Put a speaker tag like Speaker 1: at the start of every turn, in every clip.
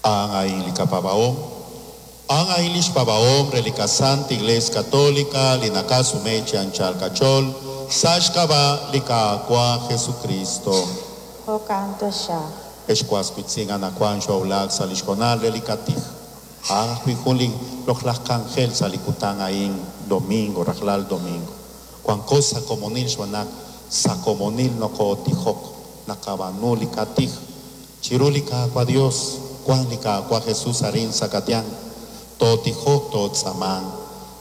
Speaker 1: A'an a'in li qapaab'ahom. A'an a'in lix paab'ahom re li qaSanta Iglesia Católica li naqasume chi anchal qach'ool sa' xk'ab'a' li Qaawa' Jesucristo.
Speaker 2: Jo'kan taxaq.
Speaker 1: Ex was wiitz'in, anaqwan xoowulak sa' li xhoonal re li qatij. A'an ajwi' jun li loq'laj k'anjel sa' li kutan a'in, domingo, rajlal domingo. Wanko sa' komonil xb'aan naq sa' komonil nokootijok, naqab'aanu li qatij chiru li Qaawa' Dios, wank li Qaawa' Jesus arin sa' qayanq. Tootijok, tootz'aamanq.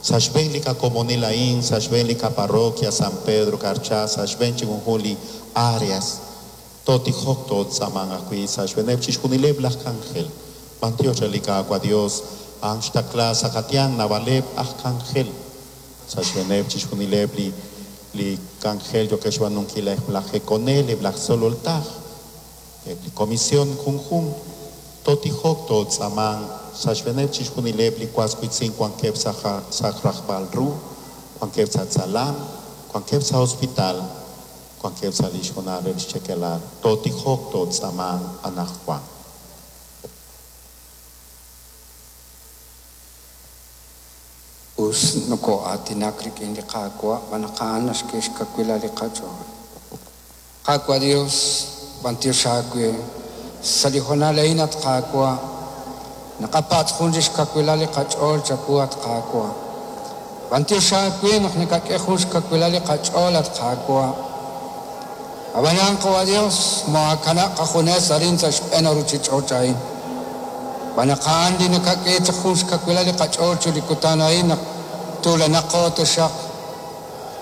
Speaker 1: Sa' xb'een li qakomonil a'in, sa' xb'een li qaparroquia San Pedro Carchá, sa' xb'een chi junjunq li áreas, tootijok, tootz'aamanq ajwi' sa' xb'eeneb' chixjunileb' laj k'anjel. B'antiox re li Qaawa' Dios, a'an xtaqla sa' qayanq naab'aleb' aj k'anjel. Sa' xb'eeneb' chixjunileb' li li k'anjel yookeb' xb'aanunkil eb' laj jekonel, eb' laj tzolol taj, eb' li comisión junjunq. Tootijok, tootz'aamanq sa' xb'eeneb' chixjunileb' li was wiitz'in wankeb' sa' sa' rajb'al ru, wankeb' sa' tz'alam, wankeb' sa' hospital, wankeb' sa' li xhoonal re lix chekelal. Tootijok, tootz'aamanq anaqwan.
Speaker 3: Us nokoo'aatinak rik'in li Qaawa' xb'aan naq a'an naxk'e xkawilal li qach'ool. Qaawa' Dios, b'antiox aawe, sa' li hoonal a'in, at Qaawa', naqapatz' jun lix kawilal li qach'ool chawu, at Qaawa'. B'antiox aawe naq nakak'e jun xkawilal li qach'ool, at Qaawa'. Ab'anan, Qawa' Dios, moohaakanab' qajunes arin sa' xb'een a ruchich'och' a'in. Xb'aan naq a'an li nakak'e chaq jun xkawilal li qach'ool chiru li kutan a'in naq tuulanaqo taxaq.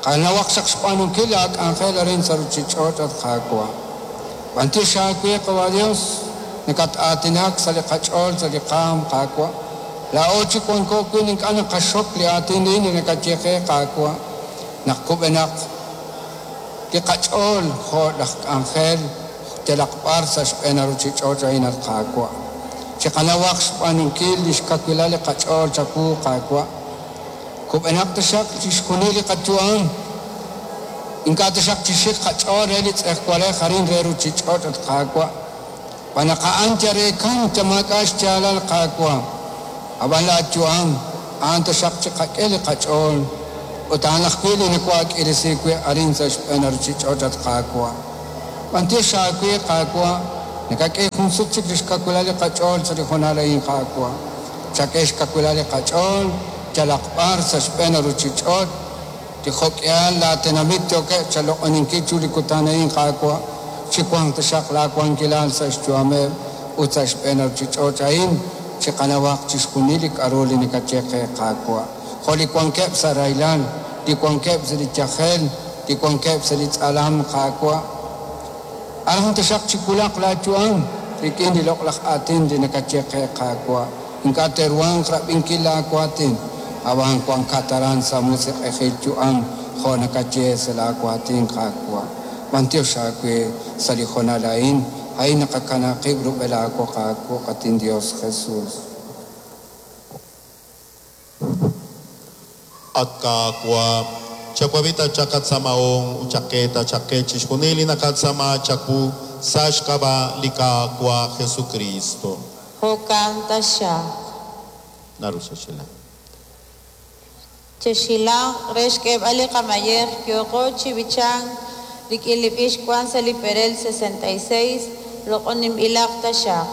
Speaker 3: Qanawaq chaq xb'aanunkil laak'anjel arin sa' ruchich'och', at Qaawa'. B'antiox aawe, Qawa' Dios, nakat-aatinak sa' li qach'ool, sa' li qaanm, Qaawa'. Laa'o chik wanko wi' ink'a' naqaxok li aatin a'in li nakaye qe, Qaawa', naq kub'enaq li qach'ool jo' laj k'anjel yalaq b'ar sa' xb'een a ruchich'och' a'in, at Qaawa'. Chiqanawaq xb'aanunkil li xkawilal li qach'ool chawu, Qaawa'. Kub'enaq taxaq chixjunil li qayu'am. Ink'a' taxaq chixik qach'ool re li tz'ejwalej arin re ruchich'och', at Qaawa'. Xb'aan naq a'an yal reekan yal maak'a' xyaalal, Qaawa'. Ab'an laayu'am a'an taxaq chiqak'e li qach'ool ut a'an ajwi' li nawaak'irisi wi' arin sa' xb'een a ruchich'och', at Qaawa'. B'antiox aawe, Qaawa', nakak'e jun sut chik li xkawilal li qach'ool sa' li hoonal a'in, Qaawa'. Chak'e xkawilal li qach'ool yalaq b'ar sa' xb'een a ruchich'och', li jo'k'ihal laatenamit yookeb' chaloq'oninkil chiru li kutan a'in, Qaawa', chiwanq taxaq laawankilal sa' xyu'ameb' ut sa' xb'een a ruchich'och' a'in, chiqanawaq chixjunil li k'aru li nakaye qe, Qaawa'. Jo' li wankeb' sa' rahilal, li wankeb' sa' li yajel, li wankeb' sa' li tz'alam, Qaawa'. Aran taxaq chiwulaq laayu'am rik'in li loq'laj aatin li nakaye qe, Qaawa'. Ink'a' te'ruhanq rab'inkil laawaatin, ab'an wankat aran sa' musiq'ejil yu'am jo' nakaye sa' laawaatin, Qaawa'. B'antiox aawe sa' li hoonal a'in, a'in naqakanab' qib' rub'el aawoq aawuq', at inDios Jesus.
Speaker 1: At Qaawa', chawab'i taxaq qatz'aamahom ut chak'e taxaq qe chixjunil li naqatz'aama chawu sa' xk'ab'a' li Qaawa' Jesucristo.
Speaker 2: Jo'kan taxaq.
Speaker 1: Naru xexhilank.
Speaker 2: Chexhilanq re xk'eeb'al li qamayej yooqo chi b'ichank rik'in li b'ich wank sa' li perel 66, loq'oninb'ilaq taxaq.